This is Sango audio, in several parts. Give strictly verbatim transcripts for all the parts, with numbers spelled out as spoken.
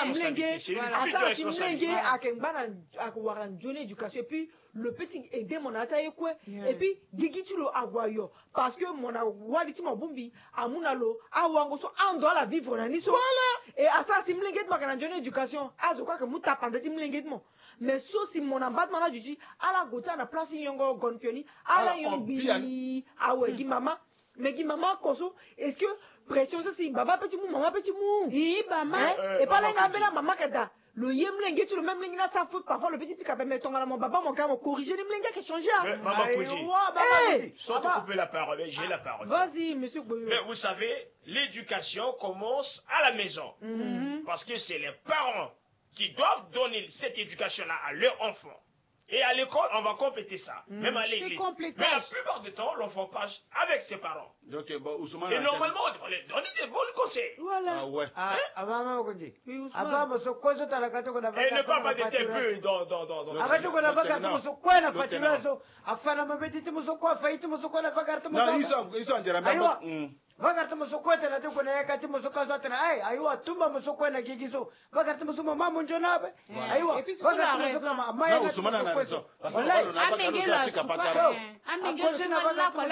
Mlenge, asara si mlenge ake ngba na, ake wara na nzoni éducation, et puis le petit aide mo na ya ti aye kue. Et puis gigi ti lo ague ayo, parce que mo na wali ti mo abongbi amu na lo awango so ando ala vivre na ni so. Et asara si mlenge ti mo ake na nzoni éducation, azo kue ake mu tapande ti mlenge ti mo. Mais so si mo na mba ti mo na aduti, ala gue ti ala na place ti nyongo gonpioni, ala nyongbi awe gi mama. Mais gi mama oko so, est-ce que pression so si baba pe ti mu, mama pe ti mu? Ii bama. Hein? Et pas lenga ambela mama keda. Lo ye mlenge ti lo, même mlenge ni asara faute, parfois lo pe ti pika pe, mais tongana mo baba mo ga mo corriger ni, mlenge ake changer, ah. Mama Kudi. Awa, baba Kudi. Sans te couper la parole, j'ai la parole. Vas-y, monsieur Gboyo. Mais vous savez, l'éducation commence à la maison. Parce que c'est les parents qui doivent donner cette éducation-là à leur enfant. Et à l'école, on va compléter ça. Même à l'église. Mais la plupart du temps, l'enfant passe avec ses parents. Donc, bon, Ousmane. Et normalement, on devrait leur donner des bons conseils. Voilà. Ah ouais. Ah, ah, maman, on dit. Oui, Ousmane. Ah, bah, mais ce quoi, ça, t'as la carte, on a... Et ne pas mettre tes peu dans, dans, dans, dans... Ah, bah, tu connais pas carte, mais ce quoi, on a fait, tu vois, ça. Afana mabeti ti mo so kue, afayi ti mo so kue na va gare ti mo so. Non, ape. Ils sont, ils sont en Jérôme. Ayiwa. Va gare ti mo so kue tene ate gue na yaka ti mo so kue so atene, ayi, ayiwa, tumba mo so kue na gigi so. Va gare ti mo so mama mo nzoni ape. Ayiwa. Et puis, va gare ti mo so kue, ma, ma yaka ti mo so kue so. Wallahi. Amenge lo asuka. Amenge lo asuka.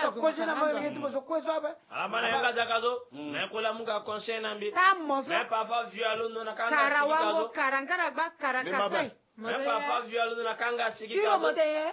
Akosi na va gare ti mo so kue so ape. Ala ma na yanga daka so. Mais kola mu ga conseil na mbi. Ta mo so. Mais parfois vieux alondo na kanga siki ka so. Kara wango, kara ngara gba, kara kasai. Mais parfois vieux alondo na kanga siki ka so. Siro mo te ye.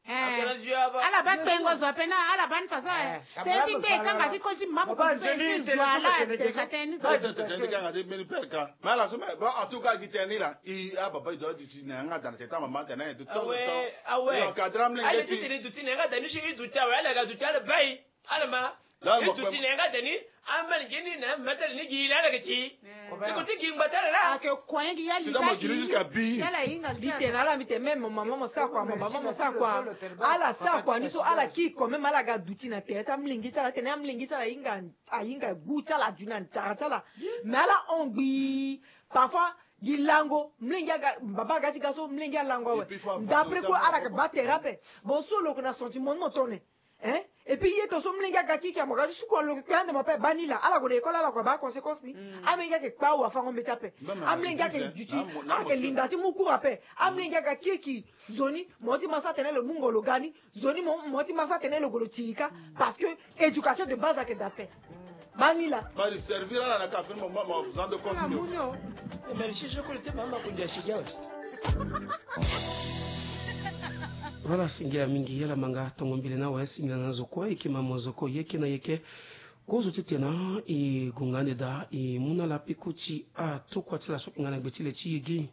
Eh. Ala ba kpengo zo ape na, ala ba ni faso, eh. Te ti kpe kanga ti ko ti mama ko ti so, esi zo ala de ka teni zo. Ese tene ti kanga ti mbeni pere ka. Mais ala so, mais bon, en tout cas, gi tene ni la, i, ah, baba, i doit duti na yanga da na tete, mama da na ye de temps en temps. Ah ouais. I encadre mlenge ti. Aye ti tene duti na yanga da ni si i duti awe, ala ga duti ala bai. Ala ma. Là, i duti na yanga da ni, amel gini na metel ni gi la, ala ga ti. Ni ko ti gi ngba tala la. Ake kue gi ya li. Sida mo giri jusqu'à bi. Yala hinga li. Di tene ala mbi tene même mama mo sa kua, mama mo sa kua. Ala sa kua ni so, ala ki kue même, ala ga duti na tere ti amlenge ti ala, tene amlenge ti ala ahinga, ahinga gu ti ala, adu na nzara ti ala. Mais ala hon gbii. Parfois gi lango, mlenge aga, baba aga ti ga so, mlenge alango awe. D'après kue, ala ke ba tere ape. Bon, so lo ke na sentiment ni mo tone. Hein? Et puis ye to so mlenge aga kiki, amo aga ti suku alo kpe ande mo ape, ba ni la, ala gue na école, ala gue ba conséquence ni. Amlenge ake kpa awafango mbeti ape. Amlenge ake duti, ake linda ti mu cours ape. Amlenge aga kiki, zoni mo ti ma so atene lo mungo lo ga ni. Zoni mo, mo ti ma so atene lo gue lo tirika. Parce que éducation de base ake da ape. Ba ni la. Ba ni servir ala na ka fini mo, mo, mo faisant de compte. Merci, je crois que mama ko dia siga. Voilà, singia mingi, yala manga tongo mbili na wa, singia na zo kue, eke mama zo kue, yeke na yeke. Kozo ti tena, e gonga ande da, e mu na la peko ti a tokua ti la so inga na gbe ti le ti yegi.